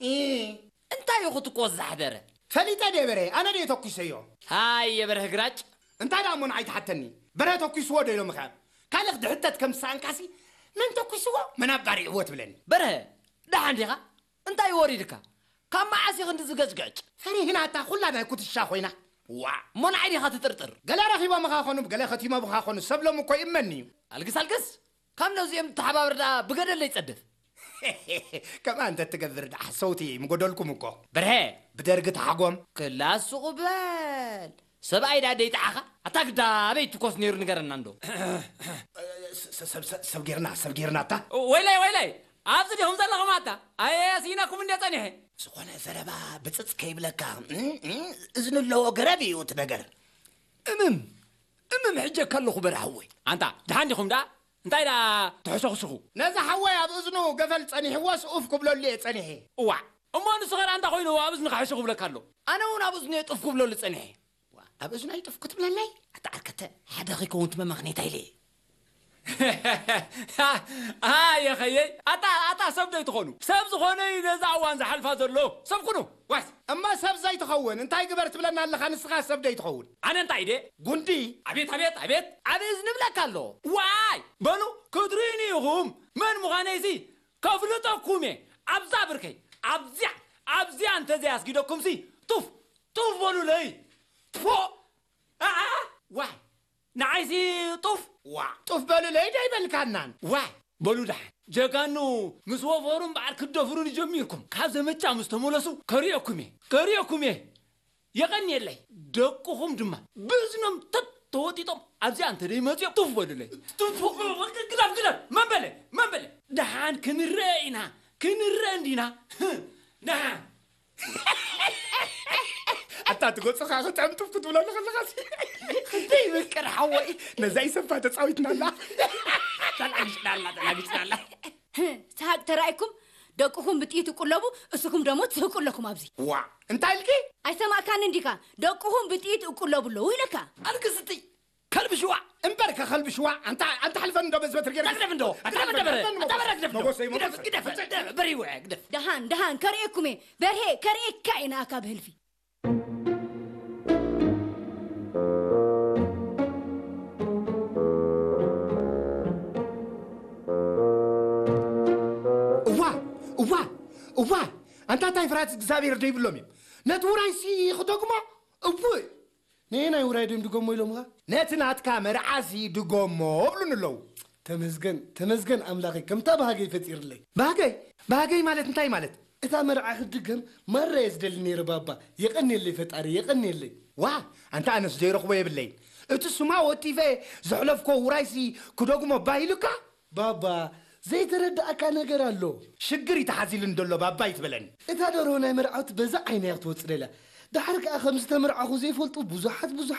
እ፣ እንታይ ኢኹ ትኮስ ዛሕደረ? ፈሊጠ ድየ በርሀ? ኣነ ድየ ተኩሰዮ? ሃየ በርሀ ግራጭ። እንታይ ደኣ እሞ ንዓይ ትሓተኒ? በርሀ ተኩስዎ ዶ ኢሎምኻ? ካልእ ድሕተት ከም ዝሰኣንካሲ፣ መን ተኩስዎ? መን ኣባሪዕዎ ትብለኒ? በርሀ፣ ደሓን ዲኻ? እንታይ ወሪድካ? ካብ መዓስ ኢኺ እንዲ ዝገጭገጭ? ፈሪህና እታ ኩላ ናይ ኩትሻ ኮይና። ዋእ፣ እሞ ንዓይ ዲኻ ትጥርጥር? ገለ ረኺቦምኻ ኾኑ፣ ገለ ከቲሞምኻ ኾኑ፣ ሰብ ሎም እኮ ይእመን እዩ። ኣልግስ ኣልግስ፣ ካብ ነዚኦም ተሓባበር ደኣ ብገደለይ ጸድፍ። ከምኣ እንተ ትገብር ደኣ፣ ሰውቲ ምጎደልኩም እኮ። በርሀ፣ ብደርጊ ተሓጎም። ክላስ ሱቕ በል። ሰብኣይ ደኣ ደይጠዓኻ? ኣታ ግዳ ኣበይ ትኮስ ነይሩ ንገረና እንዶ። ስ-፣ ስ-፣ ሰብ፣ ሰብ፣ ሰብ ጌርና፣ ሰብ ጌርና እታ። ወይላይ፣ ወይላይ! ኣብዚ ዲኹም ዘለኹም ኣታ? ኣየ፣ ስኢነኩም እንድየ ጸኒሐ። ዝኾነ ዘረባ ብጽጽ ከይብለካ፣ እም፣ እም፣ እዝኒ ኣለዎ ገረብ እዩ እቲ ነገር። እምም፣ እምም፣ ሕጀካ ኣለኹ በርሃወይ። ኣንታ፣ ደሓን ዲኹም ደኣ? እንታይ ደኣ ትሕሰኹስኹ? ነዚ ሓወይ ኣብ እዝኑ ገፈል ጸኒሕዎስ ኡፍ ክብለሉ እየ ጸኒሐ። እዋዕ፣ እሞ ንሱ ኸ ደኣ እንታይ ኮይኑ ኣብ እዝንኻ ሕሹ ክብለካ ኣሎ? ኣነ እውን ኣብ እዝኑ እየ ጡፍ ክብለሉ ጸኒሐ። ዋ፣ ኣብ እዝኑ ኣይጥፍ ክትብለለይ? ኣታ ዓርከተ፣ ሓደ ከይከውን ትመመኽኔታ ኢለ እየ። ኣየ ኸየይ፣ ኣታ፣ ኣታ ሰብ ዶ ይትኾኑ? ሰብ ዝኾነ እዩ ነዛ እዋን ዝሓልፋ ዘሎ። ሰብ ኩኑ፣ ዋስ። እማ ሰብ ዘይትኸውን እንታይ ግበር ትብለና ኣለኻ ንስኻ ሰብ ዶ ይትኸውን? ኣነ እንታይ ኢደ? ጉንዲ። ኣቤት፣ ኣቤት፣ ኣቤት። ኣብ እዝኒ ብለካ ኣሎ። ዋይ! በሉ፣ ክትርእዩኒ ኢኹም። መን ምዃነይሲ ከፍልጠኩም እየ። ኣብዛ ብርከይ፣ ኣብዚኣ፣ ኣብዚኣ እንተዘይ ኣስጊደኩምሲ፣ ጡፍ፣ ጡፍ በሉለይ። ትፎ! ኣኣ! ዋይ! ንዓይሲ ጡፍ! ዋ! ጡፍ በሉለይ ዶ ኣይበልካናን? ዋይ! በሉ ደሓን። ጀጋኑ ምስ ወፈሩን በዓል ክደፍሩን ጀሚርኩም። ካብ ዘመቻ ምስ ተመለሱ ከርእየኩም እየ። ከርእየኩም እየ። የቐንየለይ። ደቅኹም ድማ ብእዝኖም ተት ተወጢጦም ኣብዚኣ እንተ ደይመጽኦም ጡፍ በሉለይ። ጡፍ! ግደፍ፣ ግደፍ! መን በለ? መን በለ? ደሓን ክንረአ ኢና። ክንረአ እንዲና። ደሓን። ኣታ ትጎጽኻ ክጥዕም ጡፍ ክትብለሉ ከለኻሲ። ክንደይ ይምቅር ሓወይ። ነዛ ይሰፋ ተጻዊትናላ። ተላጊጭናላ፣ ተላጊጭናላ። ህ፣ ሰሃቅ ተራእይኩም፣ ደቅኹም ብጥይት እቁለቡ፣ እስኹም ደሞ ትስህቁ ኣለኩም ኣብዚ። ዋ፣ እንታይ ኢልኪ? ኣይሰማእካንን ዲኻ? ደቅኹም ብጥይት እቁለቡ ኣለዉ ኢለካ። ኣልክስቲ፣ ከልቢ ሽዋ። እምበር ከኸልቢ ሽዋ፣ ኣንታ፣ ኣንታ ሓልፈን እንዶ በዝበት ርጌር። ግደፍ እንዶ፣ ኣታ ግደፍ፣ በረ፣ ግደፍ፣ ኣታ በረ ግደፍ እንዶ። መጎሰይ፣ ግደፍ፣ መጎሰይ። ግደፍ፣ ግደፍ፣ በሪው፣ ግደፍ። ደሃን፣ ደሃን፣ ከርእየኩም እየ። በርሄ፣ ከርእየካ እየ ንኣካ ብህልፊ። እዋ፣ እዋ፣ እዋ፣ ኣንታ እንታይ ፍርሃት እግዚኣብሔር ዶ ይብሎም እዮም? ነቲ ውራይሲ ክደግሞ? እውይ! ነየናይ ውራይ ድዮም ድገሞ ኢሎምኻ? ነቲ ናትካ መርዓሲ ድገሞ እብሉኒ ኣለዉ። ተመስገን፣ ተመስገን ኣምላኸይ፣ ከምታ ባህገይ ፈጢርለይ። ባህገይ? ባህገይ ማለት እንታይ ማለት? እታ መርዓ ክትድገም ማራ እየ ዝደሊ ነይረ ባባ። የቐንየለይ ፈጣሪ፣ የቐንየለይ። ዋ፣ ኣንታ ኣነስ ዘይረኽቦ የብለይን። እቲ ስማ ወቲፈ ዘሕለፍኮ ውራይሲ ክደግሞ ባህ ኢሉካ? ባባ፣ ዘይተረዳእካ ነገር ኣሎ። ሽግር እዩ ተሓዚሉኒ ዘሎ ባባ ይትበለኒ። እታ ደርሆ ናይ መርዓውቲ በዛ ዓይና እያ ክትወጽእ ደልያ። ደሓር ከኣ ከም ዝተመርዓኹ ዘይፈልጡ ብዙሓት ብዙሓት